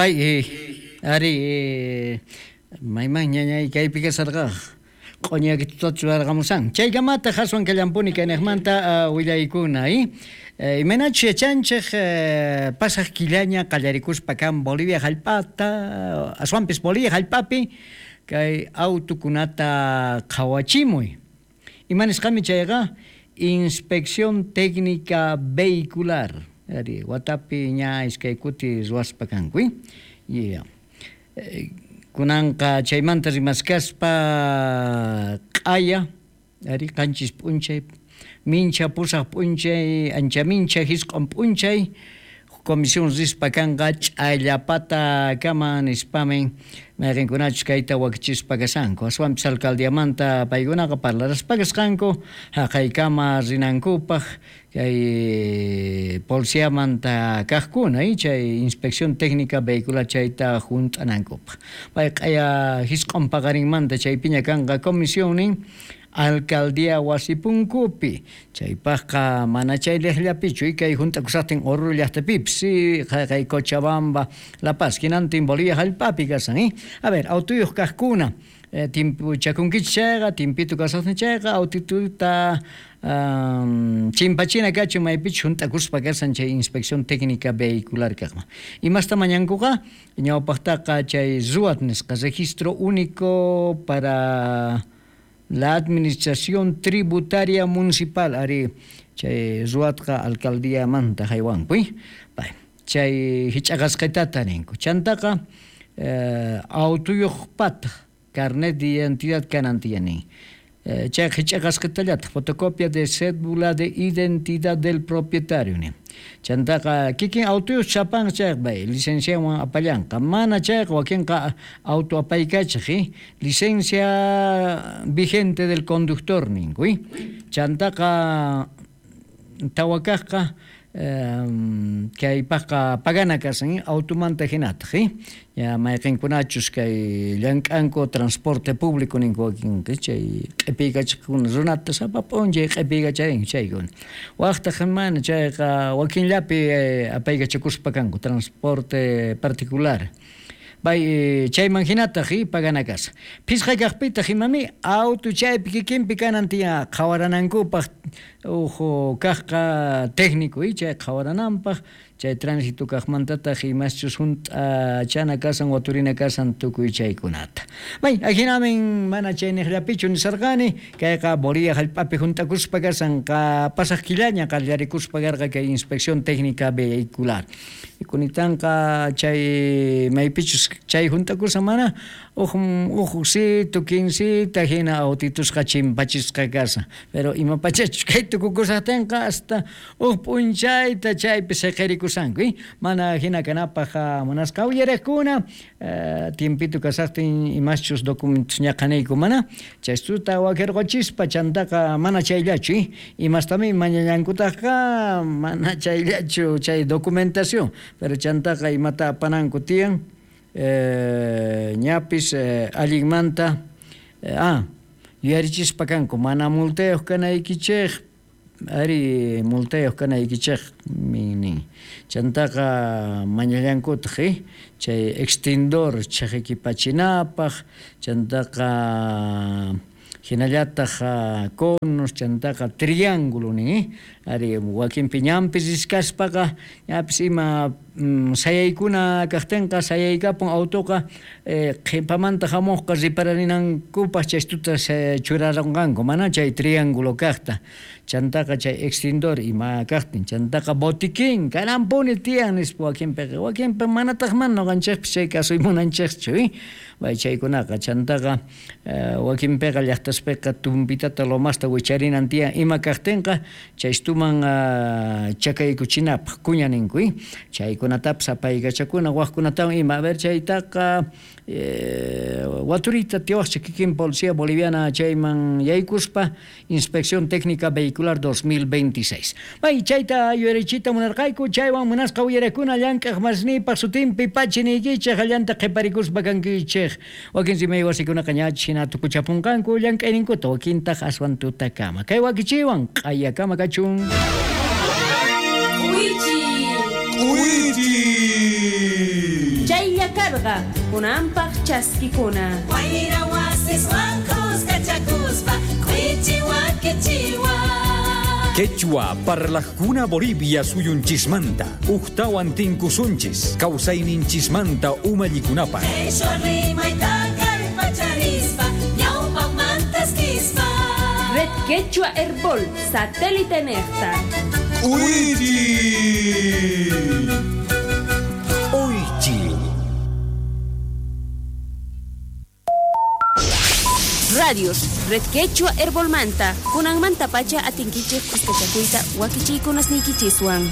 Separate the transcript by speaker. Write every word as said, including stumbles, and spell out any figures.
Speaker 1: Bay, eh, ari, eh, mayman ñañay kaypi kasarqa q'uñakitutachu churarqamusan. Chaykamataq aswan kallampuni kaynaqmanta uh, willaykuna, eh? Eh, imaynachus yachanchej eh, pasaq killaña qallarikuspa kan Bolivia hallp'ata, aswanpis Bolivia hallp'api kay autukunata qhawachimuy. Ima nisqami chayqa Inspección Técnica Vehicular. Ari, watapi ña iskay kuti ruwaspa kanku, eh? Yeah. Eh, kunanqa chaymanta rimaskaspa q'aya, ari, qanchis p'unchay, mincha pusaq p'unchay, ancha mincha hisq'un p'unchay, comisión rispa kanqa ch'allapata kama nispamin mayqinkunachus kayta wakichispa kashanku. Aswanpis alcaldiamanta paykunaqa parlaraspa kasqanku haqaykama rinankupaq kay policiamanta kaqkuna, eh, chay inspección técnica vehicular chayta hunt'anankupaq. Pay q'aya hisq'un paqarinmanta chaypiña kanqa comisionnin alcaldía wasipunkupi. Chaypaqqa mana chay liqllapichu, kay hunt'akusaqtin Oruro llaqtapipis, sí, kay Cochabamba, La Paz, hinantin Bolivia hallp'api kasan, eh? A ver, autuyuq kaqkuna, eh, timpuchakunkichik chayqa, timpitu kasaqtin chayqa, autituta um, chimpachina kachun maypichus hunt'akuspa kasan chay inspección técnica vehicular kaqman. Imasta mañankuqa? Ñawpaqtaqa chay RUAT nisqa, Registro Único para la Administración Tributaria Municipal, ari chay RUATqa alcaldíamanta haywanku, eh? Bay, chay hich'aqasqitata ninku. Chantaqa eh, autuyuqpata carnet de identidad kanan tiyanin. Eh, chay hich'aqasqitallataq fotocopia de cédula de identidad del propietario nin. Chantaqa kikin autuyuq chapan chayqa bay, licenciawan apallanqa. Mana chayqa wakinqa auto apaykachaq, eh? Licencia vigente del conductor ninku, eh? Chantaqa tawakaqqa eh, kaypaqqa pagana kasan, eh? Automanta hinataq, eh? Ya mayqinkunachus kay llank'anku transporte público ninku wakinqa chay q'ipiykachaqkuna runata sapa p'unchay q'ipiykacharin chaykuna. Waqtaq mana chayqa wakinllapi eh, apaykachakuspa kanku transporte particular. Bay, eh, chayman hinataq, eh, pagana kasa. Phisqa kaqpitaq imami auto chaypi kikinpi kanan tiyan qhawaranankupaq uhu kaqqa técnico, eh, chay qhawarananpaq chay tránsito kaqmantataq imaschus hunt'achana kasan waturina kasan tukuy chaykunata. Bay, ajinamin mana chayniqllapichu nisarqani, kayqa Bolivia hallp'api hunt'akuspa kasan qa pasaq killaña qallarikuspa karqa kay inspección técnica vehicular. Kunitanqa chay maypichus chay hunt'akusan mana uj uj quincita hina autitusqa chimpachisqa kasan. Pero ima pachachus kay tukukusaqtinqa hasta uj p'unchayta chaypi siqirikusanku, eh? Mana hina kanapaq munasqa uyariqkuna, eh, tiempito kasaqtin imaschus documentos ñaqanayku mana chaystuta wakirquchispa chantaqa mana chayllachu, eh? Imastami mañallankutaqqa mana chayllachu chay documentación, pero chantaqa imata apananku tiyan, eh, ñapis eh, allinmanta eh, ah, yuyarichispa kanku mana multayuq kanaykichik, ari multayuq kanaykichik nin. Chantaqa mañallankutaq, eh? Chay extintor chaqikipachinapaq, chantaqa hinallataq conos, chantaqa triángulo nin, eh? Ari wakinpi ñanpis riskaspaqa ñapis ima mm, sayaykuna kaqtinqa sayaykapun autoqa eh, qhipamanta hamuqqa ripararinankupaq chaystuta churarunqanku mana chay triángulo kaqta. Chantaqa chay extintor ima kaqtin, chantaqa botiquín kananpuni tiyan nispa wakinpiqa, wakinpi manataq mana ñuqanchikpis chay kasuy munanchikchu, eh? Bay chaykunaqa chantaqa eh, wakinpiqa llaqtaspiqa tumpitata lomasta wicharinan tiyan ima kaqtinqa chaystuman uh, chakaykuchinapaq kuña ninku, eh? Chaykunatapis apaykachakuna waqkunatawan ima. A ver chaytaqa eh, waturita tiwaqcha kikin policía boliviana chayman yaykuspa inspección técnica vehicular dos mil veintiséis. Bay chayta yuyarichita munarqayku chaywan munasqa uyarakuna llank'aq masnipaq sutinpi pachi niykichik allanta qhiparikuspa kankichik. Wakin rimay wasikunaqa ñach hina tukuchapunqanku llank'ayninkuta wakintaq aswan tutakama. Kay wakichiwan q'ayakama kachun.
Speaker 2: K'uychi.
Speaker 3: K'uychi.
Speaker 2: Chay karqa, kunanpaq chaskikuna.
Speaker 3: Wayra wasiswan kuskachakuspa k'uichiwa kichiwa.
Speaker 4: Quechua parlajkuna Bolivia suyunchismanta ujtawan tinkusunchis kawsayninchismanta umallikunapaq.
Speaker 3: Qheshwa rimayta kallpacharispa ñawpaqmantas kispa.
Speaker 2: Red Quechua Herbol, satélite nejta.
Speaker 4: Uychi. Uychi.
Speaker 2: Radios, Red Quechua Herbolmanta, kunanmanta pacha atinkichej kuskachakuyta wakichiykunasniykichiswan.